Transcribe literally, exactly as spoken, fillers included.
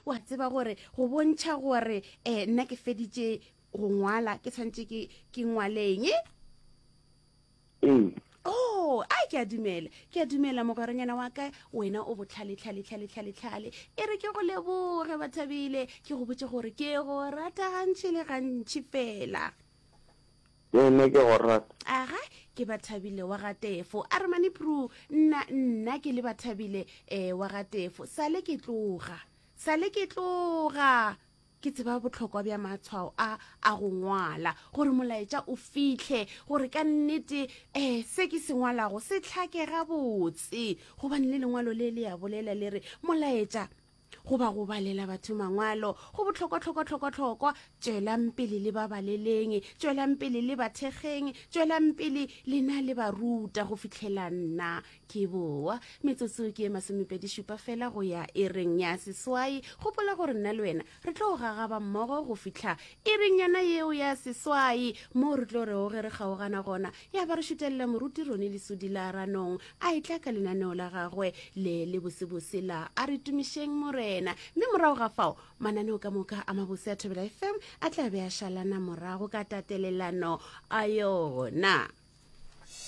Wa tseba gore go bontšha gore um nna ke feditše go ngwala, ke tshwanetse ke ke ngwaleng? Ee. Oh, a ke a dumela, ke a dumela mogweranyana wa ka, wena o botlhale tlhale tlhale tlhale tlhale. E re ke go leboge Bathabile, ke go botše gore ke go rata gantši le gantši fela. Le nna ke go rata. Aga, ke Bathabile wa ga Tefo. A re mane Pru, nna nna ke le Bathabile eh wa ga Tefo. Sale ke tloga, sale ke tloga. Ke tseba bohlokwa bja matshwao a a go ngwala gore molaetša o fihle, gore ka nnete um se ke se ngwalago se hlake gabotse. Gobane le lengwalo le le ya bolela le re molaetša goba go balela batho mangwalo go bohlokwa hlokwa hlokwa hlokwa. Tšwelang pele le ba baleleng, tšwelang pele le ba thekgeng, tšwelang pele lena le ba ruta go fihlela nna ke boa. Metsotso ke e masomepedi šupa fela go ya ering ya seswai. Gopola gore nna le wena re tlo gagaba mmogo go fihla ering yona yeo ya seswai, moo re tlo rego ge re kgaogana gona ya ba re šutelela moruti Rone Lesodi la Ranong a etla ka lenaneo la gagwe le le bosebose la A re tumišeng Morena. Mme morago ga fao mananeo ka moka a mabose a Thobela F M a tla be a šalana morago ka tatelelano a yona.